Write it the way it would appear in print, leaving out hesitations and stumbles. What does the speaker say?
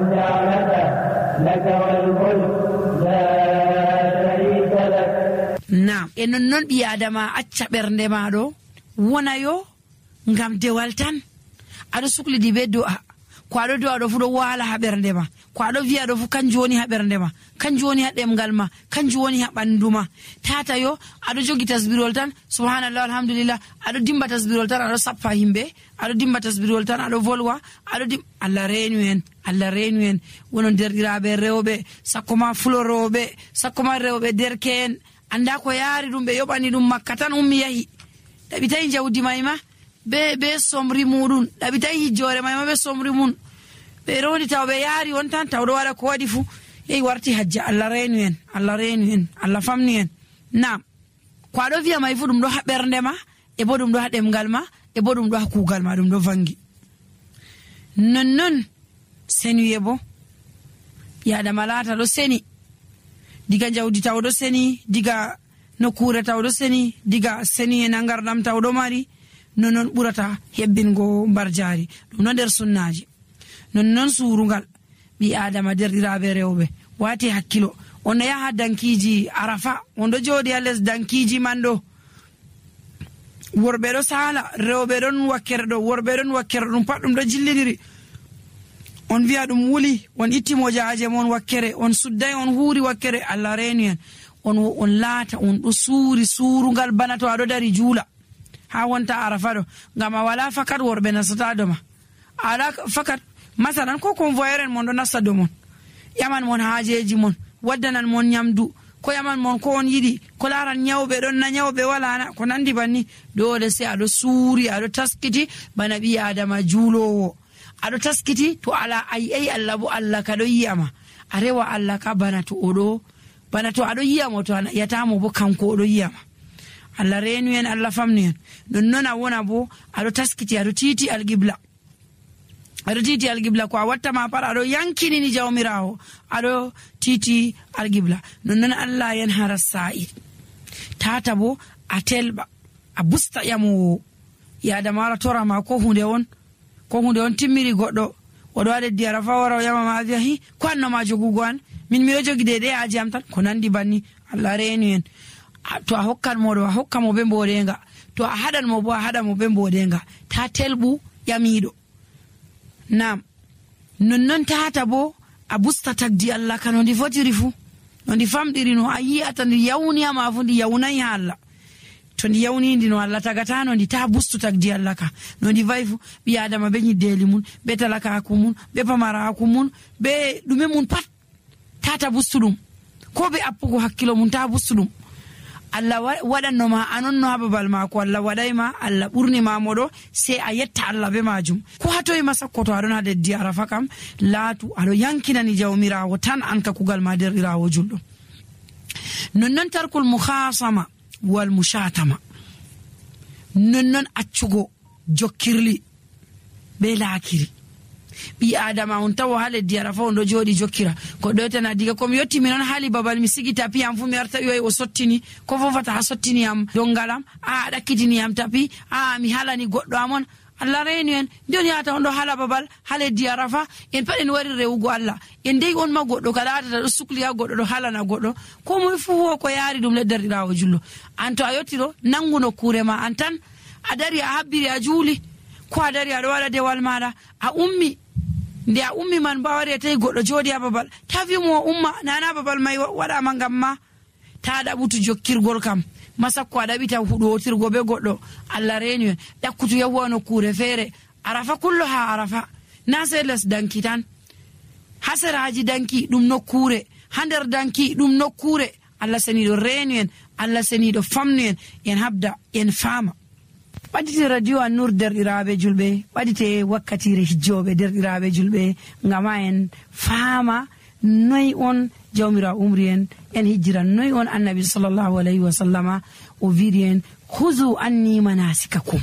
النعمة لك والملك لا شريك لك. Naam, e non ɓi adama acca ɓernde maɗo wona yo ngam dewal tan aɗo suklidi be do'a ko aɗo do'a ɗo fu ɗo wala ha ɓernde ma, ko aɗo wi'a ɗo fu kanjum woni ha ɓernde ma, kanjum woni ha ɗemgal ma, kanjum woni ha ɓandu ma. Tata yo aɗo jogi tasbirol tan subhanallah alhamdulillah, aɗo dimba tasbirol tan aɗo sappa himɓe, aɗo dimba tasbirol tan aɗo volwa, Allah reenu en, Allah reenu en. Wonon derɗiraɓe rewɓe, sakko ma fuloroɓe, sakko ma rewɓe derke'en, anda ko yaari ɗum, ɓe yoɓani ɗum Makka tan ummi yahi, ɗaɓitayi jawdi mayma be somri muɗum, ɗaɓitayi hijjore mayma be somri mum, ɓe roni taw ɓe yaari on tan taw ɗo waɗa ko waɗi fu yehi warti hajja. Allah reenu en, Allah reenu en, Allah famni en. Naam, ko aɗo wiya may fu ɗum ɗo ha ɓernde ma, e bo ɗum ɗo ha ɗemgal ma, e bo ɗum ɗo ha kuugal ma, ɗum ɗo vangi. Nonnon senuye bo yaadama laata ɗo seni, diga jawdi taw ɗo seni, diga nokkure taw ɗo seni, diga seni e nangardam taw ɗo mari, nonnon ɓurata hebbingo mbar jaari. ɗum no nder sunnaji. nonnon surungal ɓi adama derɗiraɓe rewɓe wati hakkilo. on no yaha dankiji arafa, on ɗo jooɗi ha les dankiji man ɗo, worɓe ɗo sala, rewɓe ɗon wakkere ɗo, worɓe ɗon wakkere ɗum pat ɗum ɗo jillidiri. on wi'a ɗum wuli, on itti mojaje mon wakkere, on sudday, on huuri wakkere. Allah reenu en, on laata on ɗo suuri surungal bana to aɗo dari juula ha wonta arafa ɗo, ngam a wala fakat worɓe nasata doma, ala fakat masalan ko convoyeur en mon ɗo nasta do mon, yaman mon haajeji mon, waddanan mon nyamdu, ko yaman mon ko on yiɗi, ko laran nyawɓe ɗon na nyawɓe walana, ko nandi banni. dole sai aɗo suuri, aɗo taskiti bana ɓi adama juulowo, aɗo taskiti to ala ayi Allah bo Allah ka ɗo yiyama, a rewa Allah ka bana to aɗo yiyamo, to a yatamo bo kanko oɗo yiyama. Allah reenu en, Allah famni en. nonnon a wona bo aɗo taskiti, aɗo titi alqibla, aɗo titi alqibla, ko a wattama pat aɗo yankinini jawmirawo, aɗo titi alqibla. nonnon Allah yen hara sa'i tata bo a telɓa, a busta ƴamowo yadama wara torama ko hunde on timmiri goɗɗo oɗo waɗa leddi arafa wara o ƴamama, a wiya hi ko annoma jogugo an, min miɗo jogi de aji am tan, ko nandi banni. Allah reenu en. to a hokkan moɗo a hokka mo be mboɗenga, to a haɗan mo bo a haɗa mo be mboɗenga, ta telɓu ƴamiɗo. Naam, nonnon tata bo a busta tagdi Allah ka no ndi fotiri fu, no ndi famɗiri, no a yiyata ndi yawniyama fu ndi yawnayi ha Allah. to ndi yawnindi no Allah tagata no ndi ta bustu tagdi Allah ka no ndi vayi fu. ɓi adama be nyiddeli mun, be talakaku mun, be pamaraku mun, be ɗume mun pat tata bustu ɗum, ko be appugo hakkilo mun ta bustu ɗum. Allah waɗannoma anonno ha babal mako, Allah waɗayma, Allah ɓurnima moɗo, sai a yetta Allah be majum. ko hatoyima sakko to aɗon ha leddi arafa kam, laatu aɗo yankinani jawmirawo tan an ka kugal ma derɗirawo julɗo. nonnon tarkul mukhasama wal mushatama, nonnon accugo jokkirli be laakiri. ɓi adama on tawo ha leddi arafa on ɗo jooɗi jokkira, ko ɗoytana diga komi yetti mi non haali babal mi sigi tapi am fu mi arta ƴoyi o sottini, ko fofata ha sottiniyam dongalam, a ɗakkitiniyam tapi, a mi halani goɗɗo amon. Allah reenu en. ndiyoni yata on ɗo hala babal ha leddi arafa, en pat en wari rewugo Allah, en dey on ma goɗɗo ka latata ɗo sukli ha goɗɗo ɗo halana goɗɗo, ko moye fu ho ko yaari ɗum leddarɗirawo jullo. an to a yetti ɗo nangu nokkure ma an tan, a dari a habbiri a juuli, ko a dari aɗo waɗa dewal maɗa a ummi, nde a ummi man mbawari a tawi goɗɗo jooɗi ha babal, ta wimo umma nana babal mai waɗama ngam ma, ta ɗaɓutu jokkirgol kam, masakko a ɗaɓita huɗotirgo be goɗɗo. Allah reenu en. ɗakkutu yahuwa nokkure feere, arafa kullo ha arafa, na sei les danki tan, ha seraji danki ɗum nokkure, ha nder danki ɗum nokkure. Allah seniɗo reenu en, Allah seniɗo famnu en, en habda en faama. ɓaɗite radio An-Nur derɗiraɓe julɓe, ɓaɗite wakkatire hijjoɓe derɗiraɓe julɓe, ngama en faama noyi on jawmira umri en hijjira, noyi on annabi sallallahu alayhi wa sallama o wiiri en huzu anni manasikakum.